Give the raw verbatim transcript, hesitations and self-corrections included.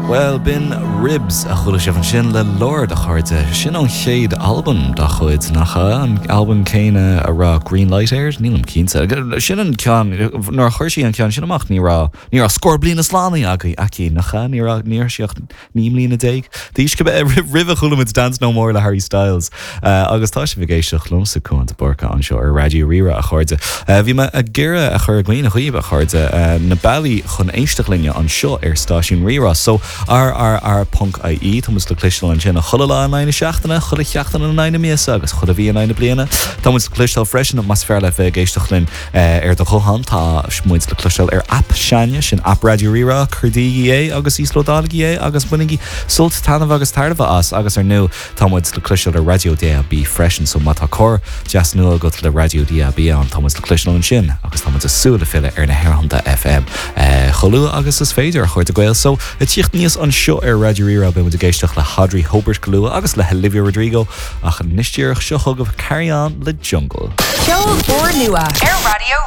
Well b'in Ribs a chuala sibh ansin le Lorde a chairde sin an chéad albam dá chuid nach an albam céanna a raibh Green Light air nílim cinnte sin an ceann nuair a chuir sí an ceann sin amach ní raibh ní raibh scór bliana slánaithe aici aici nach ní ní sí ach naoi mbliana déag Dís go roimhe chuala Dance No More le Harry Styles uh, agus tá sibh ag éisteacht liomsa Cuan de Búrca anseo ar Raidió Rí-Rá a chairde. Uh, bhí mé ag iarraidh a chur i gcuimhne dhaoibh a chairde uh, na bealaí chun éisteacht linne anseo ar stáisiún Rí-Rá, so rrr.ie Tá muid le cloisteáil ansin chuile lá in aghaidh na seachtaine, chuile sheachtain in aghaidh na míosa agus chuile mhí in aghaidh na bliana. Tá muid le cloisteáil freisin más fearr leat bheith ag éisteacht linn ar do ghuthán tá muid le cloisteáil ar app s'againne sin app Raidió Rí-Rá cuardaígí é agus íoslódálaigí é agus bainigí sult taitneamh agus tairbhe as agus ar ndóigh tá muid le cloisteáil ar Raidió DAB freisin so má tá carr deas nua agat le Raidió DAB ann tá muid le cloisteáil ansin agus tá muid ag súil le filleadh ar na haerthonnta FM chomh luath agus is féidir a chairde Gael so ag tíocht aníos anseo ar Raidió Rí-Rá beidh ag éisteacht le hAudrey Hobert go luath agus le Olivia Rodrigo ach anois díreach seo chugaibh Carry On le Jungle. Ceol úr nua ar Raidió